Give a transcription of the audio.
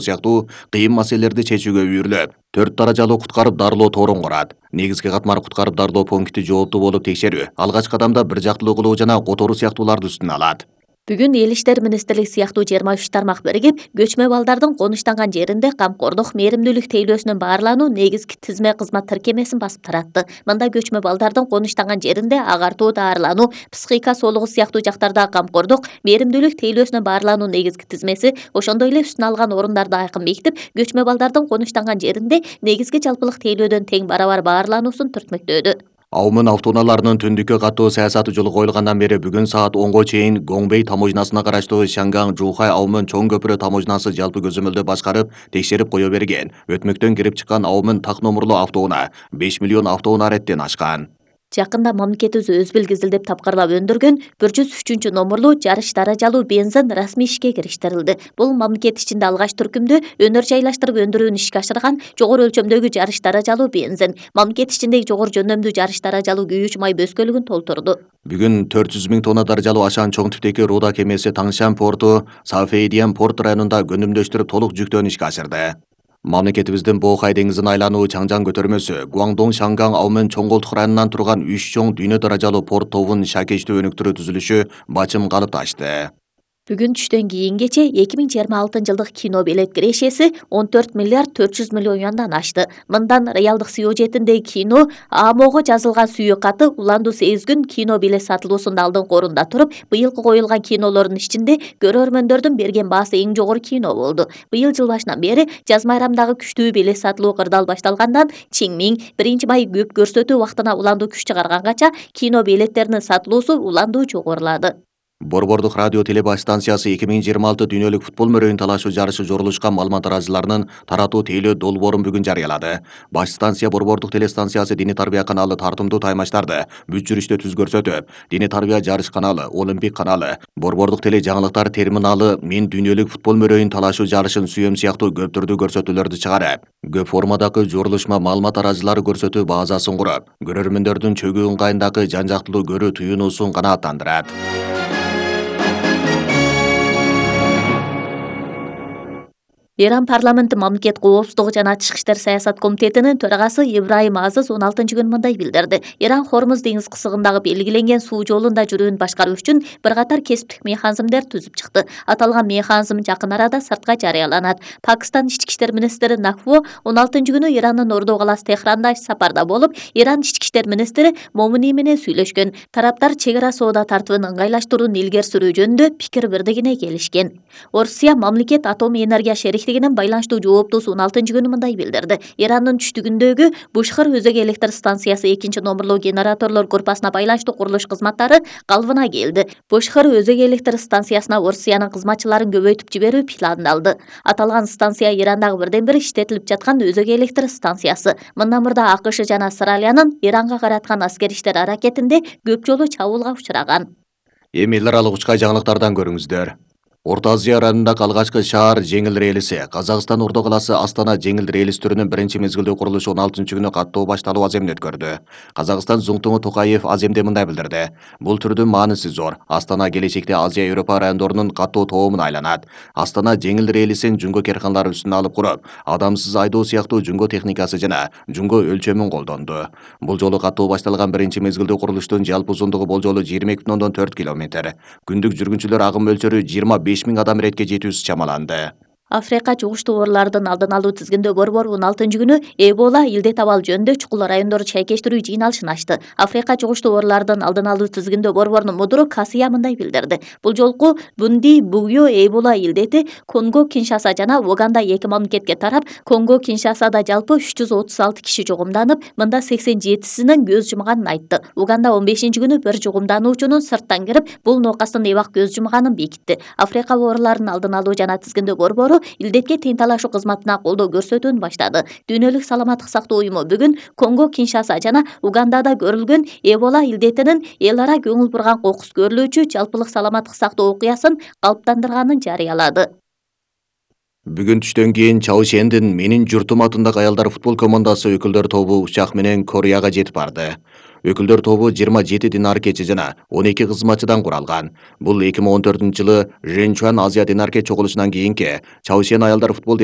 сыяктуу кыйын маселелерди чечүүгө үйүрүлөт. 4 даражалуу куткарып дарылоо торун курат. Негизги катмар куткарып дарылоо пункти жооптуу болуп текшерүү, алгачкы кадамда бир жактылуу кылуу жана которуу сыяктууларды үстүнө алат. Бүгүн Эл иштер министрлиги сыяктуу 23 тармак биригип, көчмө балдардын конуштанган жеринде камкордук, мээримдүүлүк тейлөөсүнүн баарлануу негизги тизме кызмат тиркемесин басып таратты. Мында көчмө балдардын конуштанган жеринде агартуу, даарылануу, психика соолугу сыяктуу жактарда камкордук, мээримдүүлүк тейлөөсүнүн баарлануу негизги тизмеси, ошондой эле үстүнө алган орундарды айкын бекитип, көчмө балдардын конуштанган жеринде негизги жалпылык тейлөөдөн тең барабар баарлануусун түртмөктөөдү. Аумын автоунааларынын түндүккө катуу саясаты жолу коюлгандан бери бүгүн саат 10го чейин Гоңбей таможнасына караштуу Шанган-Жухай Аумын чоң көпүрө таможнасы жалпы көзөмөлдө башкарып, текшерип кое берген. Өтмөктөн кирип чыккан Аумын так номурлуу автоунаа 5 миллион автоунаа ареттен ашкан. Жакында мамлекетибиз өзбил кизилдеп тапкырлап өндүргөн 103 номурлуу жарыш даражалуу бензин расмий ишке кириштирилди. Бул мамлекет ичинде алгач түркүмдө өнөр жайлаштырып өндүрүүнү ишке ашырган жогору өлчөмдөгү жарыш даражалуу бензин, мамлекет ичиндеги жогору жөндөмдүү жарыш даражалуу күйүүч май бөскөлүгүн толтурду. Бүгүн 400 000 тонна даражалуу ашан чоң типтеги Руда кемеси Таңшан порту Сафейдиан порт районунда көнүмдөштүрүп толук жүктөөнү ишке ашырды. Мамлекетибиздин Боокай деңизин айлануу Чаңжан көтөрмөсү Гуаңдоң Шанган Аумын чоң колтук районунан турган 3 чоң дүйнө даражалуу порт тобунун шакечтүү өнүктүрүү түзүлүшү бачым калыпташты. Бүгүн түштөн кийинкече 2026 жылдык кино билет кирешеси 14 миллиард 400 миллион юандан ашты. Мындан реалдык сюжетиндеги кино АМОго жазылган сүйүк каты уланду сезгүн кино билет сатылуусунда алдыңкы орунда туруп, быйылкы коюлган кинолордун ичинде көрөрмөндөрдүн берген баасы эң жогору кино болду. Быйыл жыл башынан бери жаз майрамдагы күчтүү билет сатылуу кырдаал башталгандан Чиңмиң 1 май көп көрсөтүү убактына уланду күч чыгарганганча кино билеттеринин сатылуусу уланду жогорулады. Борбордук радио телебаш станциясы 2026 дүйнөлүк футбол мөрөйүн талашуу жарышы жорулушкан маалымат тараажыларынын таратуу тейлөө долбоорун бүгүн жарыялады. Баш станция Борбордук телестанциясы Диний тарбия каналы тартымдуу таймаштарды бүт жүрүштө түз көрсөтүп, Диний тарбия жарыш каналы, Олимпик каналы, Борбордук теле жаңылыктар терминалы мен дүйнөлүк футбол мөрөйүн талашуу жарышын сүйөм сыяктуу көп түрдүү көрсөтүүлөрдү чыгарып, көп формадагы жорулушма маалымат тараажылары көрсөтүү базасын куруп, көрөрмөндөрдүн чөгүү ыңгайындагы жан жактылуу көрүү туюнуусун канааттандырат. Иран парламенти мамлекет коопсуздугу жана тышкы иштер саясат комитетинин төрагасы Ибраим Азыз 16-күнү мындай билдирди. Иран Хормуз деңиз кысыгындагы белгиленген суу жолунда жүрүүнү башкаруу үчүн бир катар кесиптик механизмдер түзүп чыкты. Аталган механизм жакын арада сыртка жарыяланат. Пакистан ички иштер министри Накво 16-күнү Ирандын Ордо каласы Техранда сапарда болуп, Иран ички иштер министри Момини менен сүйлөшкөн. Тараптар чек ара соода тартыбын ыңгайлаштырууну илгери сүрүү жөнүндө пикир бирдигине келишкен. Орусия мамлекет атом энергия байланыштуу жооптуусу 16-күнү мындай билдирди. Ирандын түштүгүндөгү Бушхар өзөк электр станциясы 2-номурлуу генераторлор группасына байланыштуу курулуш кызматтары калыбына келди. Бушхар өзөк электр станциясына Орусиянын кызматчыларын көбөйтүп жиберүү пландалды. Аталган станция Ирандагы бирден бир иштетилип жаткан өзөк электр станциясы. Мындан мурда АКШ жана Австралиянын Иранга караткан аскери иштер аракетинде көп жолу чабуулга учураган. Эми эл аралык учкай жаңылыктардан көрүңүздөр. Орто Азия районундагы алгачкы шаар жеңил релиси Казакстан Ордо каласы Астана жеңил релис түрүнүн биринчи мезгилдүү курулушу 16-күнү каттоо башталуу аземин өткөрдү. Казакстан Зуңтуңу Токаев аземде мындай билдирди. Бул түрдүн мааниси зор. Астана келечекте Азия Европа райондорунун каттоо тоомуна айланат. Астана жеңил релисин жүнгө керкандар үстүнө алып куруп, адамсыз айдоо сыяктуу жүнгө техникасы жана жүнгө өлчөмүн колдонду. Бул жолу каттоо башталган биринчи мезгилдүү курулуштун жалпы узундугу болжолу 22,4 километр. Күндүк жүргүнчүлөр агым мөлчөрү 25 000 адам иретке жетүүсү чамаланды. Африка жугуштуу оорулардын алдын алуу тизгиндөө борбор 16-күнү Эбола илдет абал жөнүндө чукул райондорду чайкештирүү жыйналышын ачты. Африка жугуштуу оорулардын алдын алуу тизгиндөө борборунун мудуру Касия мындай билдирди. Бул жолку Бунди Бугё Эбола илдети Конго Киншаса жана Уганда 2 мамлекетке тарап, Конго Киншасада жалпы 336 киши жугумданып, мында 87синин көз жумганын айтты. Уганда 15-күнү бир жугумдануучунун сырттан кирип, бул ноокастын эбак көз жумганын бекитти. Африка ооруларын алдын алуу жана тизгиндөө борбору илдетке тең талашуу кызматына колдоо көрсөтүүнү баштады. Дүйнөлүк саламаттык сактоо уюму бүгүн Конго Киншаса жана Угандада көрүлгөн Эбола илдетинин эл ара көңүл бурган кокус көрүлүүчү жалпылык саламаттык сактоо окуясын калыптандырганын жарыялады. Бүгүн түштөн кийин Чаошендин Менин журтум атындагы аялдар футбол командасы өкүлдөр тобу учак менен Кореяга жетип барды. Өкүлдөр тобу 27 динаркечи жана 12 кызматчыдан куралган. Бул 2014-жылы Женчуан Азия динарке чогулушунан кийинки Чаошен аялдар футбол